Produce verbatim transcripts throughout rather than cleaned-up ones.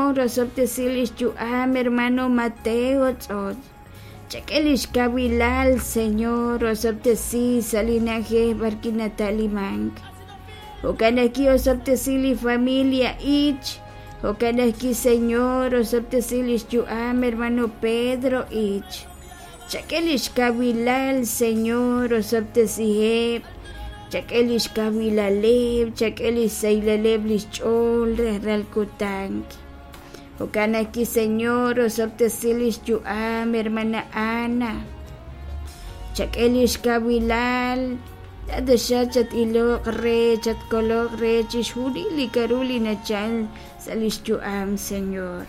Señor, osob'tesi lix yu'am hermano Mateo Tz'otz. Chak'e lix kawilal, Señor, osob'tesi sa' li na'ajej b'arwi' nata'limank. Jo'kan ajwi' osob'tesi li familia Ich. Jo'kan ajwi', Señor, osob'tesi lix yu'am hermano Pedro Ich. Chak'e lix kawilal, Señor, osob'tesiheb'. Chak'e lix kawilaleb', chak'e lix saylaleb' lix ch'ool rajlal kutan. Jo'kan ajwi', Señor, osob'tesi lix yu'am hermana Ana. Chak'e lix kawilal, taxa chat-iloq re, chatkoloq re chixjunil li k'a'ru li nachal sa' lix yu'am, Señor.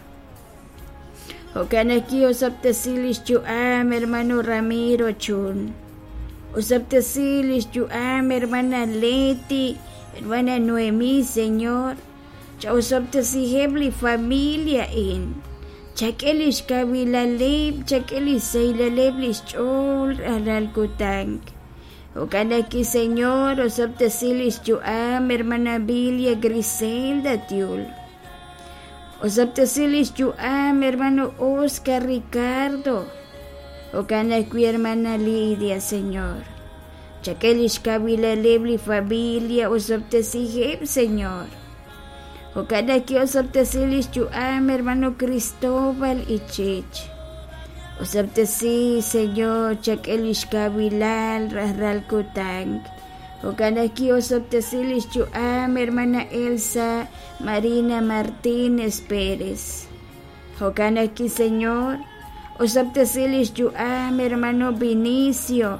Jo'kan ajwi' osob'tesi lix yu'am hermano Ramiro Chun. Osob'tesi lix yu'am hermana Leti, hermana Noemí, Señor. Cha'osob'tesiheb' li familia in. Chak'e lix kawilaleb', chak'e lix saylaleb' lix ch'ool rajlal kutan. Jo'kan ajwi', Señor, osob'tesi lix yu'am hermana Bilia Griselda Tiul. Osob'tesi lix yu'am hermano Oscar Ricardo. Jo'kan ajwi', hermana Lidia, Señor. Chak'e lix kawilaleb' li familia osob'tesiheb', Señor. Jo'kan ajwi' osob'tesi lix yu'am hermano Cristóbal Ichich. Osob'tesi, Señor, chak'e lix kawilal rajlal kutan. Jo'kan ajwi' osob'tesi lix yu'am hermana Elsa Marina Martínez Pérez. Jo'kan ajwi', Señor, osob'tesi lix yu'am hermano Vinicio.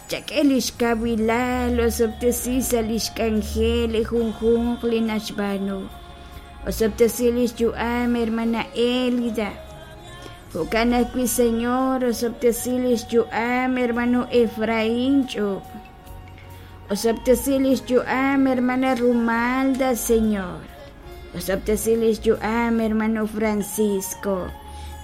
Chak'e lix kawilal, osob'tesi sa' lix k'anjel li junjunq li naxb'aanu. Osob'tesi lix yu'am hermana Elida. Jo'kan ajwi', Señor, osob'tesi lix yu'am hermano Efraín Ch'ub. Osob'tesi lix yu'am hermana Rumalda, Señor. Osob'tesi lix yu'am hermano Francisco.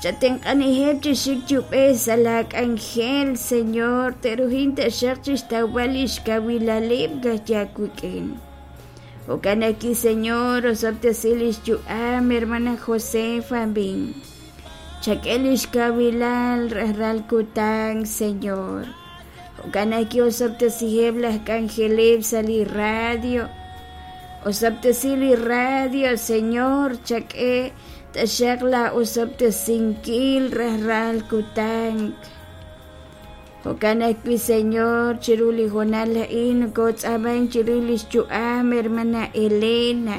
Chatenq'aniheb' chi xik chub'ej sa' la k'anjel, Señor, teruhin taxaq chixtawb'al lix kawilaleb' gajyawik'in. Jo'kan ajwi', Señor, osob'tesi lix yu'am hermana Josefa Bin. Chak'e lix kawilal rajlal kutan, Señor. Jo'kan ajwi' osob'tesiheb' laj k'anjeleb' sa' li radio. Osob'tesi li radio, Señor, chak'e taxaq la osob'tesinkil rajlal kutan. Jo'kan ajwi', Señor, chiru li hoonal a'in kotz'aman chiru lix yu'am hermana Elena.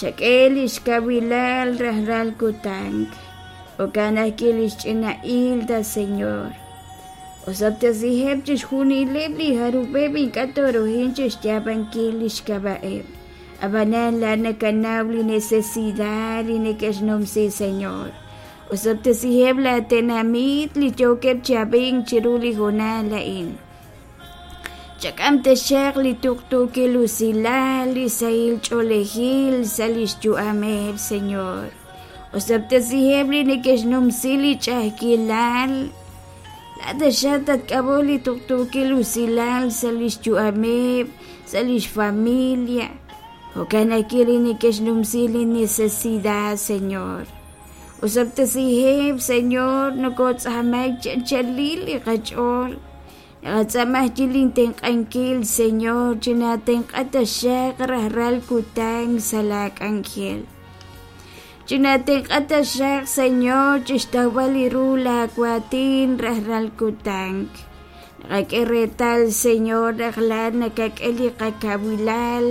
Chak'e lix kawilal rajlal kutan. Jo'kan ajwi' lix ch'ina Hilda, Señor. Osob'tesiheb' chixjunileb' li jarub'eb' ink'a' toruhin chixyaab'ankil lix k'ab'a'eb'. Ab'anan la nakanaw li necesidad li neke'xnumsi, Señor. Osob'tesiheb' la tenamit li yookeb' chi ab'ink chiru li hoonal a'in. Chak'am taxaq li tuqtuukil usilal, li sahil ch'oolejil sa' lix yu'ameb', Señor. Osob'tesiheb' li neke'xnumsi li ch'a'ajkilal. La taxaq tatk'ab'o li tuqtuukil usilal sa' lix yu'ameb', sa' lix familia. Jo'kan ajwi' li neke'xnumsi li necesidad, Señor. Osob'tesiheb', Señor, nokotz'amak chanchalil li qach'ool. Naqatz'amaj chi lintenq'ankil, Señor, chinatenq'a taxaq rajlal kutan sa' la k'anjel. Chinatenq'a taxaq, Señor, chixtawb'al li ru la waatin rajlal kutan. Naqak'e reetal, Señor, rajlal nakak'e li qakawilal,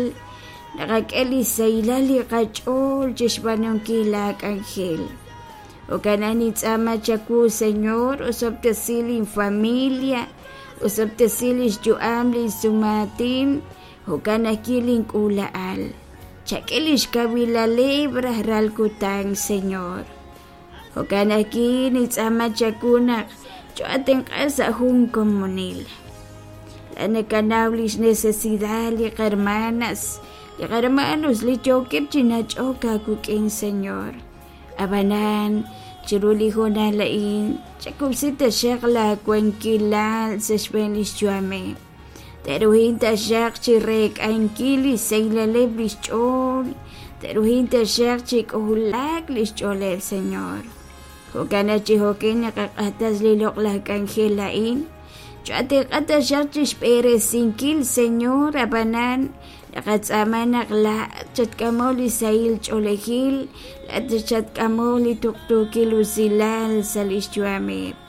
naqak'e li saylal li qach'ool chixb'aanunkil la k'anjel. Jo'kan nitz'aama chawu, Señor, osob'tesi linfamilia, osob'tesi lix yu'am li sumaatin, jo'kan ajwi' link'uula'al. Chak'e lix kawilaleb' rajlal kutan, Señor. Jo'kan ajwi' nitz'aama chawu naq cho'atenq'a sa' jun komonil. La nakanaw lix necesidad li qarmanas, li qarmanos li yookeb' chi nach'ok aawik'in, Señor. Ab'anan chiru li hoonal a'in chakub'si taxaq la wankilal sa' xb'een lix yu'ameb'. Teruhin taxaq chi reek'ankil li saylaleb' lix ch'ool, Te'ruhin taxaq chi k'ojlaak li xch'ooleb', Señor. Jo'kan naq chi jo'kin naqaq'axtes li loq'laj k'anjel a'in. Cho'atenq'a taxaq chi xb'eresinkil, Señor, ab'anan naqatz'aama naq laa'at chatk'amoq li sahil ch'oolejil, laa'at chatk'amoq li tuqtuukil usilal sa' li xyu'ameb'.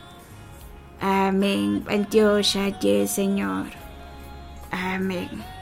Amén. B'antiox aaye, Señor. Amén.